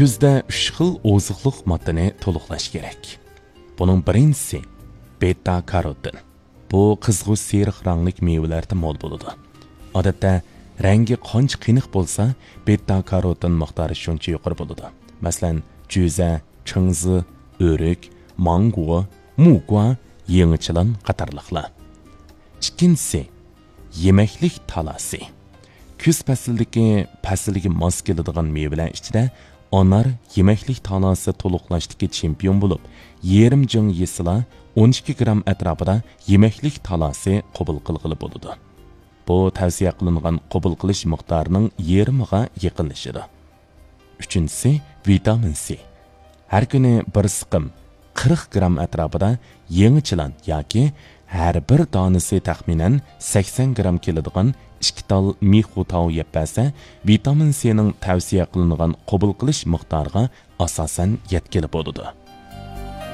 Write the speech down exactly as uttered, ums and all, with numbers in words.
كۈزدە ئۈچ خىل ئوزۇقلۇق ماددىنى تولۇقلاش كېرەك. بۇنىڭ بىرىنچىسى بېتا كاروتىن. بۇ قىزغۇچ سېرىق رەڭلىك مېۋىلەردە مول بولىدۇ. ئادەتتە رەڭگى قانچە قېنىق بولسا، بېتا كاروتىن مىقدارى شۇنچە يۇقىرى بولىدۇ. مەسىلەن، جۈزە، چىڭزى، ئۆرۈك، ماڭگو، مۇگۇا، يېڭىچىلان قاتارلىقلار. ئىككىنچىسى، يېمەكلىك تالاسى. كۈز پەسلىدىكى پەسىلگە ماس كېلىدىغان مېۋىلەر ئىچىدە ئانار يېمەكلىك تالاسى تولۇقلاشتىكى چېمپىيون بولۇپ، يېرىم جىڭ يېسىلا، ئون ئىككى گرام ئەتراپىدا يېمەكلىك تالاسى قوبۇل قىلغىلى بولىدۇ. بۇ تەۋسىيە قىلىنغان قوبۇل قىلىش مىقدارىنىڭ يېرىمىغا يېقىنلىشىدۇ. ئۈچىنچىسى، ۋىتامىن سى. ھەر كۈنى بىر سىقىم، قىرىق گرام ئەتراپىدا يېڭىچىلان ياكى ھەر بىر دانىسى تەخمىنەن سەكسەن گرام كېلىدىغان ئىككى تال مىخۇتاۋ يەپ بەرسە، ۋىتامىن سىنىڭ تەۋسىيە قىلىنغان قوبۇل قىلىش مىقدارىغا ئاساسەن يەتكىلى بولىدۇ.